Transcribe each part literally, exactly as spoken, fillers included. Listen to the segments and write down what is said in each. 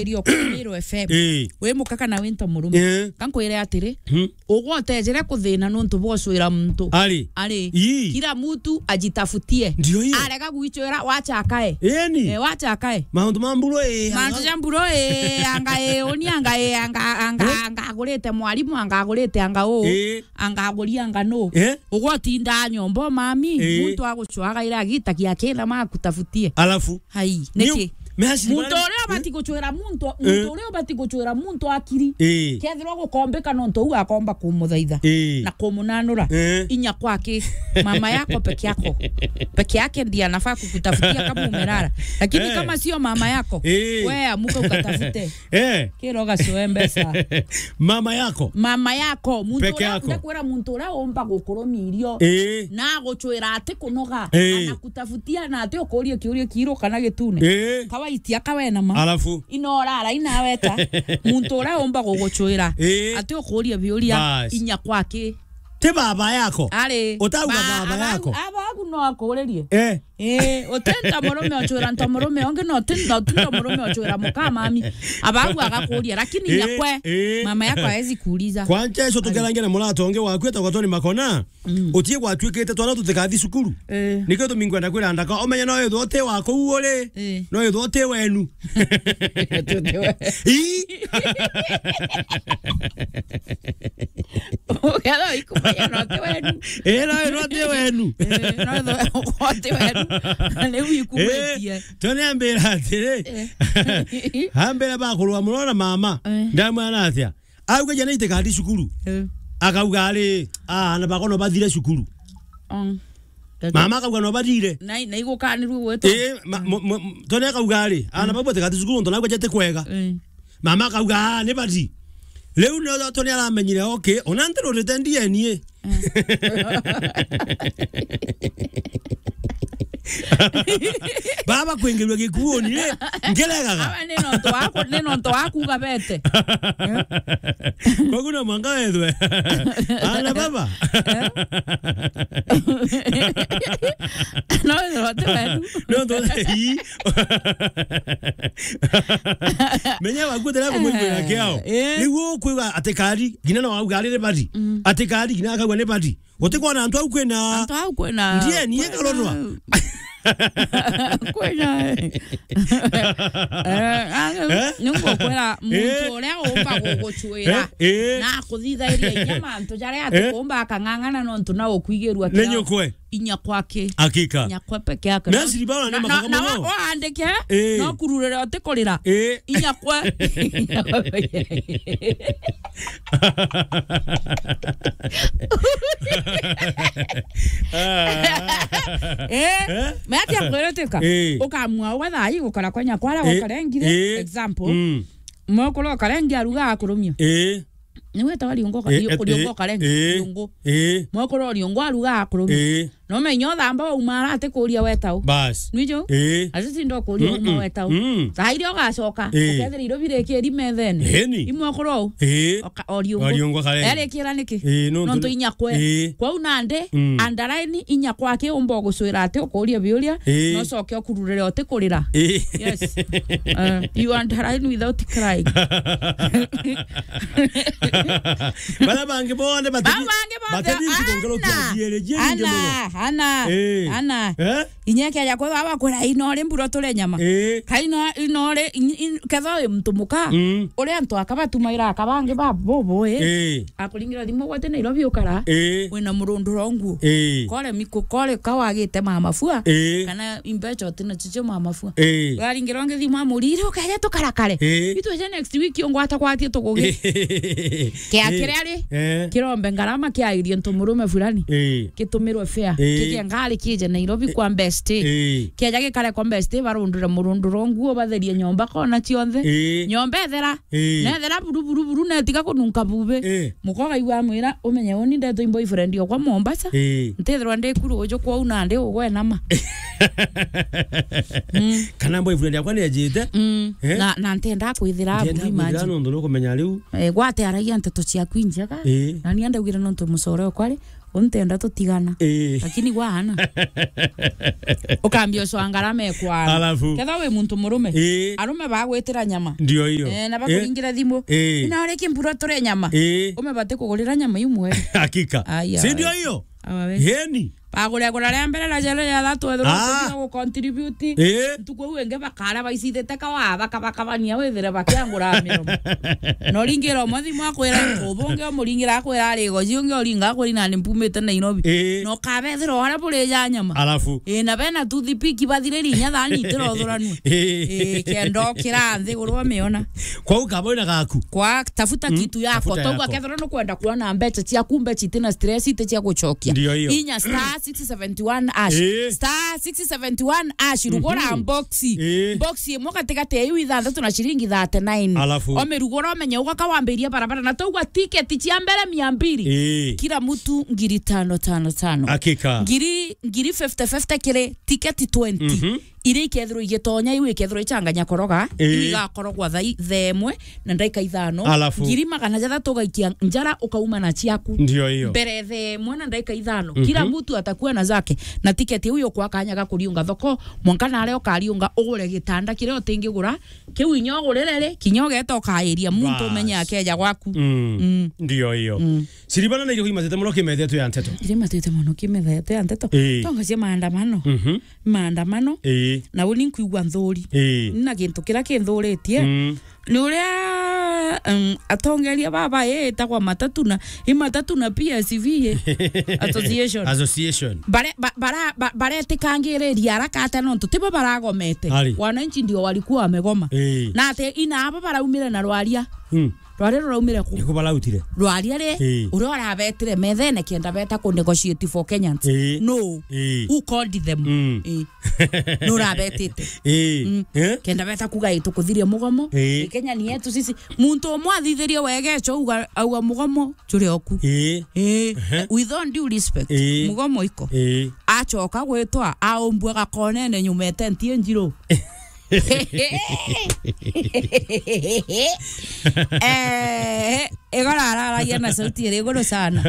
irio ku Meru F M. Eh. Wi muka kana wi nto murume. Eh. Ka nkwire atiri, hmm, ugwe utejere kuthina nontu bwa ucwira muntu. Ari. Ari. Ii. Kila mtu ajitafutie. Ndio hiyo. Arega gwicwira, wacha akae. Eni. Eh, wacha akae. Mauntu ma mburu, eh, Mauntu anga- ja mburu, eh, anga, eh, uni anga, eh, anga, anga, Eh? anga agurite mwarimu, anga agurite anga uu. Eh. Anga aguria anga nu. Eh? Ugwe utindaa nyomba, mami, Eh. muntu agucwaga ira agitagia kina makutafutie. Alafu? Hai, niki? Muntu uria ubati gucwira muntu, muntu uria ubati gucwira muntu akiri. Eh. Kethirwa gukombika nontu uu akomba kumuthaitha. Eh. Na kumunanura. Eh. Inya kwaki? Mama yako peke yako. Peke yake ndiye anafaa kukutafutia kama umelala. Lakini Eh. kama sio mama yako, Eh. we amuka ukatafute. Eh. Kira ugacoe mbeca. Mama yako. Mama yako. Muntu peke uria yako. Ndakwira muntu uria umba gukurumia irio. Eh. Na agucwira ati kunoga. Eh. Anakutafutia na ati ukurie kiuria kiiru kana gitune. Eh. Kawaitia kawe na ma. Alafu? Ino urara inaweta. Muntu uria umba gugucwira. Eh. Ati ukurie biuria. Bas. Inya kwaki? Ti baba yako. Ari. Utauga ba-, baba abagu-, yako. Abagu no akuririe. Eh. Eh, uti nto murume ocwira nto murume, ongi no ti, no ti nto murume ocwira muka mami. Abagu agakuria, lakini Eh, nyakwe, eh. mama yako hawezi kuuliza. Kwanja icio tukerangia na murata ungi waku etagwa Tony Makona. Mm. Utie gwatuikite twana tutikathi cukuru. Eh. Nikio tumi nkwenda kwira ndaka, umenye no ithwa uti wa kuu uri, Eh. no ithwa uti wenu. Ii. Ukethwa ikumenya no ti wenu. Eh, no ithwa uti wenu. Eh, no ithwa uti wenu. Riu ikugwitie. Eh, Tony ambira atiri, Eh. ambira bakurwa muno na mama. Eh. Ndamwira atia? Auga jana itikathi cukuru. Eh. Akauga ari, "Ah, ana bakwa no bathire cukuru." Mm. Mama akauga no bathire. Na, na igukanirwe gwetwa. Eh, ma-, mo-, mo-, Tony akauga ari, "Ana Mm. bakwa itikathi cukuru, nontu nauga jete kwega." Eh. Mama akauga, "Ah, ni bathi." Riu no Tony aramenyire, okay, ona ntirurite D N A. Eh. Baba kwingirua gikuuni, eh, ngeregaga. Aba ni nontu waku, ni nontu waku gabete. Eh? Koguo no mwanka wethwe. Ana baba. Eh? No wethwe ti wenu. No ndo, ii. Menya waku tena kumwigwira kiao. Eh. Niguo kwigua ati kari, ngina no auga ari ni bari. Mm. Ati kari, ngina akauga ni bari. Guti kwona antu au kwina. Antu au kwina. Ndiye ni karorwa. Kwina. Eh, Eh? Ni ngukwira muntu Eh? uria umba gugucwira Eh? Eh? na akuthithairia inya mantu jaria Eh? atikumba akang'ang'ana nontu na ukwigirua Ni kiao. Nyukwe. Inya kwake. Hakika. Inya kwe peke yake. Na siri bana ni Na, na, makaka na muno. Wa-, waandike, Eh. no kururire utikurira. Eh. Inya kwe. Eh? Eh? Mati akwiruteka. Eh. Ukamua ugathaai gukara kwa nyakwa aria Eh. gukarengire. Eh. Example. Mm. Mukuru ukarengi aruga akurumio. Eh. Ni wetawa riungo ka-, Eh, ri-, eh, riungo eh, karengi, eh, riungo. Eh. Mwekuru riungo aruga akurumia. Eh. No menyo thamba wauma ara atikuria wetau. Bas. Nwijo? Eh. Ati tinda ukuria Mm-mm. uma wetau. Mm. Thaa iria ugacoka, Eh. ukethira irio birikiri methene. Eni. Imwekuru au. Eh. Oka-, o riungo. O riungo karengi. Erikira niki? Eh, nontu Nontu ni-, inya kwe. Eh. Kwau nandi, Mm. andaraini inya kwake umba ugucwira ati ukuria biuria, Eh. no coke ukururire utikurira. Eh. Yes. Uh, you underline without crying. Bara bangi bonde bati-, Bau bangi bonde, batithiti kuongerwa ana, kiasi ere, jeri ana, muno. Ana, Eh. ana. Eh? Inya kia yakwa baba kwira ino ri mburo ture nyama. Eh. Ka ino, ino ri, in-, in-, ketho wi muntu muka. Mm. Uri antu akabatumaira akabangi ba bobo, eh. Eh. Akuringira thimu gwate Nairobi ukara. Eh. Wina murunduro nguo. Eh. Kore miku, kore kawagite mama fua. Eh. Kana imbecho tina chicho mama fua. Eh. Waringirwa ngithi mwa murire ukaja tukarakare. Eh. Itweje next week ungwata kwatie tugugi. Kia Eh. kiria ri. Eh. Kirombe ngarama kia irio ntu murume fulani. Eh. Kitumirwe fare. Eh. Kikia ngari kije Nairobi kwa best. Eh. Kiaja gikare kwa best barundure murunduro nguo batherie nyomba kona cionthe. Eh. Nyomba ethera. Eh. Nethera buru, buru, buru, netiga kununka bube. Eh. Mukoga igwa mwira, umenye uni ndetwa boyfriend okwa Mombasa. Eh. Ntithirwa ndi kuru uju kwou nandi ugwe nama. Mm. Kana boyfriend yakwa ni ajite. Mm. Eh? Na, na ntenda kwithira Ntenda aburi kwithira imagine. Nontu nukumenya riu. Eh, gwate aragia nteto ciaku injega. Eh. Na ni andaugire nontu mucore okwa ri. Untenda tutigana. Eh. Lakini gwa ana. Ukambia ucwa ngarama ekwana. Alafu. Ketha wi muntu murume. Eh. Arume bagwitira nyama. Ndio hiyo. Eh, na bakuringire thimu. Eh. Ina uri kimburo turi nyama. Eh. Ume bati kugurira nyama imwe. Hakika. Aya. Si ndio hiyo? Awa we. Yeni. Bagure gura ria mbere na jere ya thatu ethirwa Ah. tuthira gu contribute. Eh. Ntuku iu ingi bakara baicithite kawa, bakabakabania withire bakiangura miromo. Na uringira umwe thimu akwira nkubu, ungi umuringira akwira ari goji, ungi uringa akwira nani mpumite Nairobi. Eh. Na ukabethira uria buri ja nyama. Alafu. Eh, na bena toothpick bathiriri inya thani itirothuranu. Eh. Eh, kenda ukira nthi guru umiona. Kwau kaba wina gaku. Kwa tafuta Mm, kitu yako. Tafuta Tauga yako. Kethira nukwenda kuona mbeca ciaku, mbeca itina stress, iti cia gucokia. Ndio hiyo. Inya star six seventy one hash. Eh. Star six seventy one hash, rugura Mhm. boxi. Eh. Boxi imwe gatigati ya iu ithanthatu na ciringi thirty nine. Alafu? Omirugura umenye ugaka wambiria barabara. Na tauga tiketi cia mbere mia mbiri. Eh. Kila mtu ngiri tano tano tano. Hakika. Ngiri, ngiri fifty fifty kiri tiketi twenty. Mhm. Iria ikethirwa igitonya, iu ikethirwa ichanganya koroga, Ii. iu igakorogwa thaa i-, thaa imwe na ndaika ithano. Alafu? Ngiri magana jathatu ugaikia njara, ukauma na ciaku. Ndio hiyo. Mbere thaa imwe na ndaika ithano. Mhm. Kila mtu atakuwa na zake. Na tiketi iu yukwa kanya ga kuriunga thoko, mwanka naria ukariunga ugure gitanda kiria utingigura, kiu inya ugurire ri, kinya ugeta ukairia muntu Bas. Umenye akeja gwaku. Mm. Mm. Ndio hiyo. Mm. Siribana na irio imatete muno kimethetwe ya nteto. Iria imatete muno kimethetwe ya nteto. Ii. Tonga cia maandamano. Mhm. Maandamano, Ii. Na uni nkwigua nthuri. Ii. Na gintu kiria kinthuritie, Mm. ni uria, um, atongeria baba, ii, itagwa matatu na, i matatu na P S V, ii, association. Association. Bare-, ba-, bara-, ba-, baretikangiriria haraka atia nontu tibo baragomete. Ari. Wananchi ndio walikuwa wamegoma. Ii. Na ati ina aba baraumire na rwaria. Mm. Rwaria ruraumire ku? Niku barautire. Rwaria ri, Ii. Uria urabetire methene kenda beta ku negotiate for Kenyans. Ii. No. Ii. Who called them? Mm. Ii. No urabetite. Ii. Mm. Eh? Kenda beta kuga ii tukuthiria mugomo. Ii. Ii, Kenya ni yetu sisi. Muntu umwe athithirie wega echo auga, auga mugomo juri oku. Ii. Ii. Ehe. With all due respect, Ii. Mugomo iko. Ii. Acoka gwitwa, aumbua gakonene nyuma etenti njiru. Eh, igoro araragia na sauti iri iguru sana.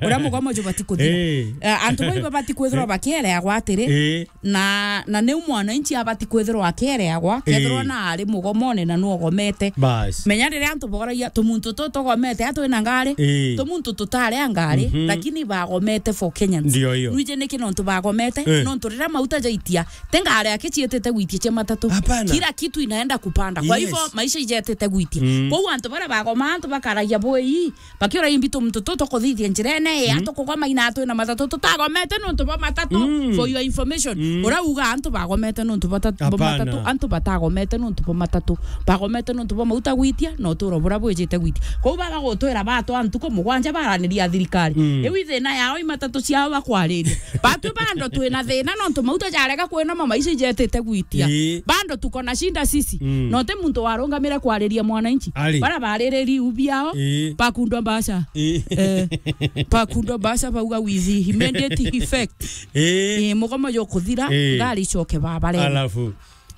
Uria mugomo jubati kuthira. Eh. Eh, antu bau ibabati kwithirwa bakiereagwa atiri, Eh. na, na niu mwananchi abati kwithirwa akiereagwa, kethirwa Eh. na ari mugomone na nuogomete. Bas. Menya riria antu boragia, tumuntu tu tugomete, a twina ngari, Eh. tumuntu tutari a ngari, Mhm. lakini bagomete for Kenyans. Ndio hiyo. Nwiji niki nontu bagomete, Eh. nontu riria mauta jaitia, ti ngari aki cietete gwitia cia matatu. Hapana. Kila kitu inaenda kupanda. Kwa Yes. hivyo, maisha ijetete gwitia. Mm. Kwou antu baria bagoma, antu bakaragia bwii, bakiura imbi tumuntu tu tukuthithia njirene, ii, Mm. antu kugoma ina twina matatu, tutagomete nontu bwa matatu. Mm. For your information, Mm. uria uga antu bagomete nontu bwa ta-, bwa Hapana. matatu, antu batagomete nontu bwa matatu. Bagomete nontu bwa mauta gwitia, na uturo buria bwijite gwitia. Kwou bagagutwira batwa ntuku mugwanja baraniria thirikari. Mm. Iu ithina yao i matatu ciao bakwariria. Batwi bando twina thina nontu mauta jarega kwinoma maisha ijetite gwitia. Ii. Bando tuko na shinda sisi. Mm. No ti muntu warungamire kwariria mwananchi. Ari. Bara baririri iu biao, Ii. bakundwa mbasha. Ii. Eh, bakundwa mbasha bauga with immediate effect. Ii. Ii, mugomo jukuthira, Ii. ngari icoke babarene. Alafu.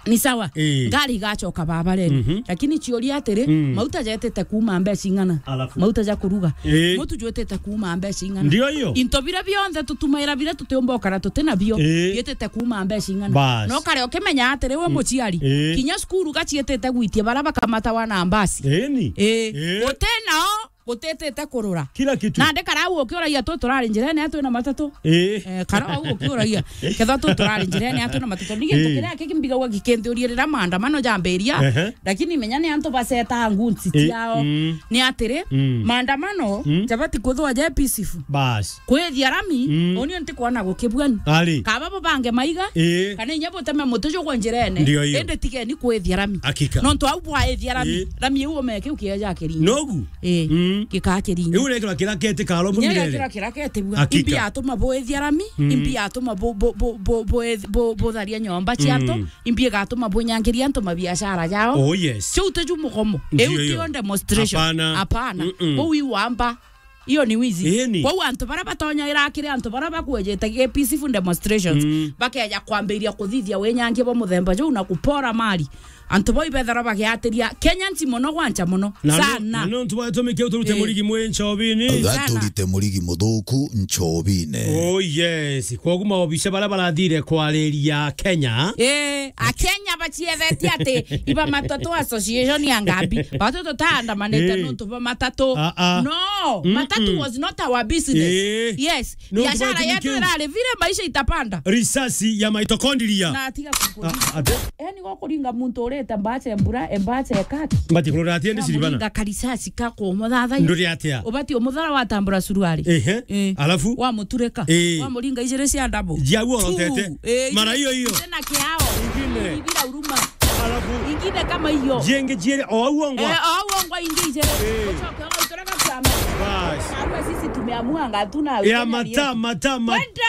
Ni sawa. Ii. Ngari igacoka babarene. Mhm. Lakini ciuria atiri, Mm. mauta jetete kuuma mbeca ing'ana? Alafu. Mauta ja kuruga. Ii. Mutu jwetete kuuma mbeca ing'ana? Ndio hiyo. Into biria bionthe tutumaira biria tutiumba ukara tuti nabio, Ii. bietete kuuma mbeca ing'ana? Bas. No kare ukimenya atiri, we Mm. muciari, Ii. kinya cukuru gacietete gwitia bara bakamatawa na mbasi. Ii ni. Ii. Ii. Guti nao gutetete kurura. Kila kitu. Nandi karau ukiuragia tu turari njirene atwi na matatu. Ii. Eh, karau ukiuragia. Ketha tu turari njirene atwi na matatu. Ni gintu Ii. kiria kiki mbigagua gikinthiuria riria maandamano jambiria. Ehe. Lakini menya ni antu baceta ngunsi Ii. ciao. Mm. Ni atiri, Mm. maandamano Mm. jabati kwithwa je peaceful. Bas. Kwithia rami, Mm. uni ntikwona gukibua ni. Ari. Kaba bubange maiga, Ii. kana inya buteme muti jugwe njirene. Ndio hiyo. Indi tigeni kwithia rami. Hakika. Nontu au bwaithia rami, Ii. rami iu ume kiu kieja kiringi. Nogu? Ii. Mm. Gikaa kiringi. Iu ni kira kira keti karo Inya mumirere. Kira kira keti bua. Hakika. Imbi atuma bwithia rami, Mm. imbi atuma bu-, bu-, bu-, bu-, bu-, bu-, butharia nyomba cia antu, Mm. imbi igatuma bunyangiria antu mabiashara jao. Oh, yes. Ciu tiju mugomo. Ndio Iu hiyo. Tio demonstration. Hapana. Hapana. Mm-mm. Bau iwamba. Iyo ni wizi. Ii ni. Kwou antu baria batonyaira kiri antu baria bakwejete gi peaceful demonstrations, Mm. bakeja kwambiria kuthithia winyangia bwa muthemba juu na kupora mali. Antu bau ibethagirwa bagiatiria Kenya nti mono gwancha mono. Na no-, sana. Na nontu bwa gitumi kiu turute Eh. murigi mwi nchobini. Sana. Gaturite murigi muthuku nchobine. Oh yes. Koguo maobica baria barathire kwariria Kenya. Eh, Akenya bachiethetie ati iba matatu association ya Ngambi. Batu tutaandamanite Eh. nontu bwa matatu. Ah, ah. No, Mm-mm. matatu was not our business. Eh. Yes. Nontu bwa Biashara gitumi yetu kiu. Irari vile maisha itapanda. Risasi ya mitochondria. Na atiga kukuringa. Ah, ate? Eni go kuringa muntu urite mbache mbura, mbache kati. Mbati kurora atia ndi siribana. Wamuringa karisasi ka kumuthathaiya. Nduri atia? Ubati umuthara watambura suruari. Ehe. Eh. Alafu? Wamuturika. Eh. Wamuringa ijiri cia ndabu. Jia uo Two. Otete. Eh, Mara hiyo hiyo. Tena kiao. Ingine. Ibira uruma. Alafu? Ingine kama hiyo. Jienge jiere o au ongwa. Eh, o au ongwa ingi ijiri. Eh. Ucoke ugaturika kiao. Bas. Arua sisi tumeamua ngatuna. Ya mata, mata, mata. Kwenda.